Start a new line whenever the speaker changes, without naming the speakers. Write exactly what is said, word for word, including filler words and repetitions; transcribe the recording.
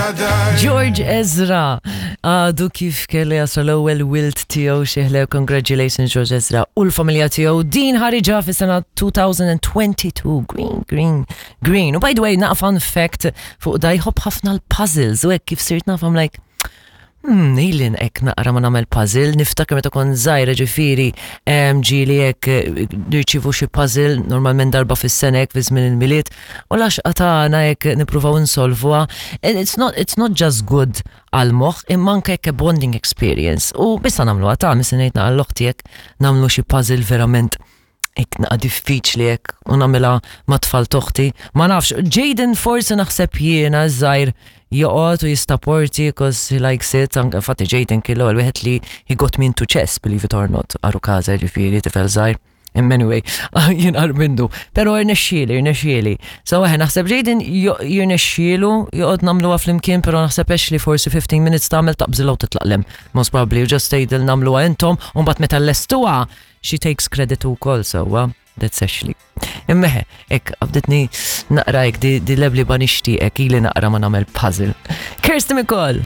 I die.
George Ezra għadu kif kellu jasal l-ewwel wild tiegħu xieħle congratulations George Ezra u l-familja tiegħu din ħariġa fis-sena twenty twenty-two. Green, Green, Green. U by the way, naqra fun fact fuq da, jħobb ħafna l-puzzles u hekk kif sirt naf, I'm like, Hmm, ili hekk naqra ma nagħmel puzzle, niftakar meta kont żgħira ġifieri ġieli hekk eh, nirċivu xi puzzle normalment darba fis-sena hekk fi żmien il-Milied u l-għaxqa tagħna hekk nippruvaw insolvuha. And it's not it's not just good għal-moħħ imma anke hekk a bonding experience. U bissa nagħmluha ta' missa ngħid naqra l-oħti hekk nagħmlu xi puzzle verament hekk naqa diffiċli hekk u nagħmilha ma' tfal t'oħti. Ma nafx, Jaden forsi naħseb jiena żgħir joqgħod u jissaporti 'cause he likes it. Anke infatti Jaden kien l-ewwel wieħed li he got me into chess, believe it or not, għarukaża ġifieri tifel żgħir. Anyway, jien agħar minnu. Pero irnexxieli, irnexxieli. So eħe, naħseb Jaden jirnexxielu joqgħod nagħmluha flimkien, pero naħseb li forsi fifteen minutes tagħmel taqbżilha u titlaq 'l hemm. Most probably, you just tgħidil nagħmluha intom, u mbagħad meta lestuha, she takes credit ukoll, so uh, that's Ashley. Imma eħe, hekk qabditni naqra hekk di, di lebli ba nixtieqek ili naqra ma nagħmel puzzle. Kirsty MacColl!